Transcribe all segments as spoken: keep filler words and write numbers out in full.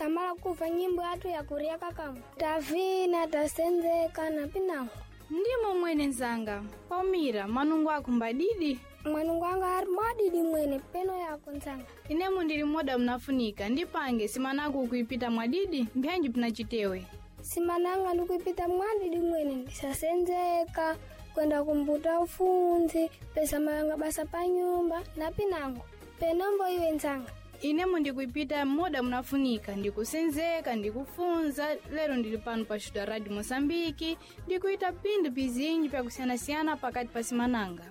Tamala kuva nyimbo yathu ya kuria kakamwe. Tavina tasenzeka na pinango. Ndimo mwene nzanga, Palmira, manungo ako mbadidi? Mwanungu anga ari mwadidi mwene peno yako nzanga. Inemu ndili moda mnafunika, ndipange simanako ukuipita mwadidi, mbyanji pinachitewe. Simananga ndikuipita mwadidi mwene ndisasenzeka kwenda kumbuta ufunzi pesa malanga basa pa nyumba na pinango. Penombo iwe nzanga. Inemu ndikuipita moda mnafunika, ndikusenzeka, ndikufunza, lero ndili pano pa Xuta Radio Moçambique, ndikuita pindu pizinji pyakusiyanasiyana pakati pa simananga.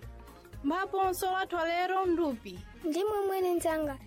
Mbapo nsolo athu alero ndupi. Ndimwe mwene nzanga.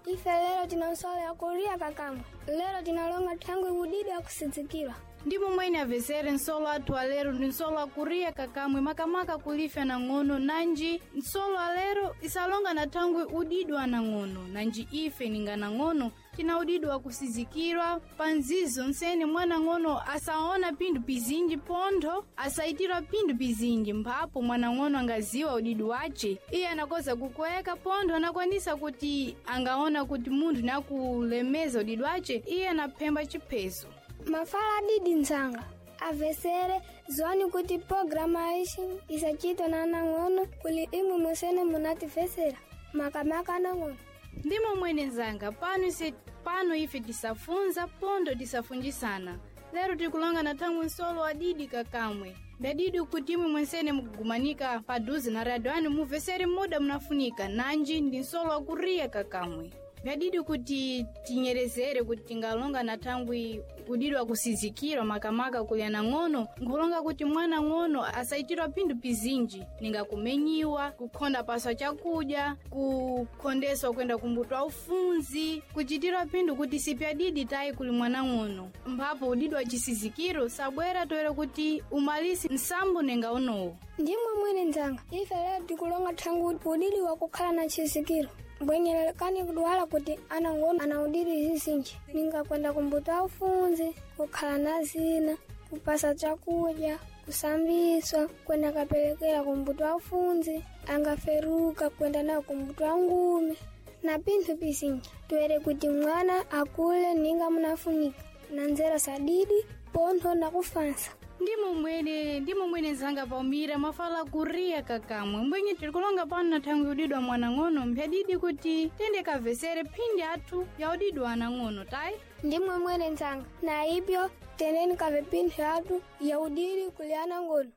Ife lero tina nsolo ya kuria kakamwe. Lero tinalonga thangwi udidi akusidzikira. Ndimo mwene avesere nsolo athu alero ndi nsolo akuriya kakamwe makamaka kulifya nang'ono nanji nsolo alero isalonga na thangwi udidwa anang'ono nanji ife ninga nang'ono tina udidwa akusizikirwa pa nzizo nsene mwanang'ono asaona pinthu pizinji pontho asaitirwa pinthu pizinji mphapo mwanang'ono angaziwa udidi wace iye anakoza kukweka pontho anakwanisa kuti angaona kuti munthu nakulemeza udidi wace iye anaphemba chipheso. Mafala adidi nzanga. Avesere ziwani kuti programa aishi isachitwa na anang'ono kuli imwe musene munatifesera makamaka anang'ono. Ndimo mwene nzanga pano ise pano ife tisafunza pondo tisafunjisana lero tikulonga na thangwi nsolo adidi kakamwe ndadidi kuti imwe mwensene mukugumanika paduze na radio anu muvesere muda munafunika nanji ndi nsolo akuriya kakamwe vyadidi kuti tinyerezere kuti tingalonga na thangwi udidi wakusizikirwa makamaka kuli anang'ono nkhulonga kuti mwana ng'ono asaitirwa pinthu pizinji ninga kumenyiwa kukhonda paswa chakudya kukhondeswa kwenda kumbuto ufunzi kuchitirwa pinthu kuti sipyadidi tayi kuli mwana ng'ono mphapo udidi wa chisizikiro sabwera toera kuti umalisi nsambo ninga unowo. Ndimwe mwene nzanga. Ife lero tikulonga thangwi udidi wakukhala na chisikiro. Mbwenyelekani kudwala kuti anang'ono ana udidi zizinji. Ninga kwenda kumbuta ufunzi, kukhala na zina, kupasa chakudya, kusambiswa, kwenda kapelekera kumbuto ufunzi, angaferuka kwenda nawo kumbuto ngumi. Na pinthu pizinji. Toere kuti mwana akule ninga munafunika. Na nzera sadidi, pontho na kufansa. Ndimo mwene ndimo mwene nzanga Palmira mafala kuriya kakamwe mbwenye tirikulonga pano na thangwi udidwa mwanang'ono mphyadidi kuti tende kavesere phindi athu ya udidwa anang'ono tayi. Ndimwe mwene nzanga. Na ibyo teneni kave pinthu yathu ya udidi kuli anang'ono.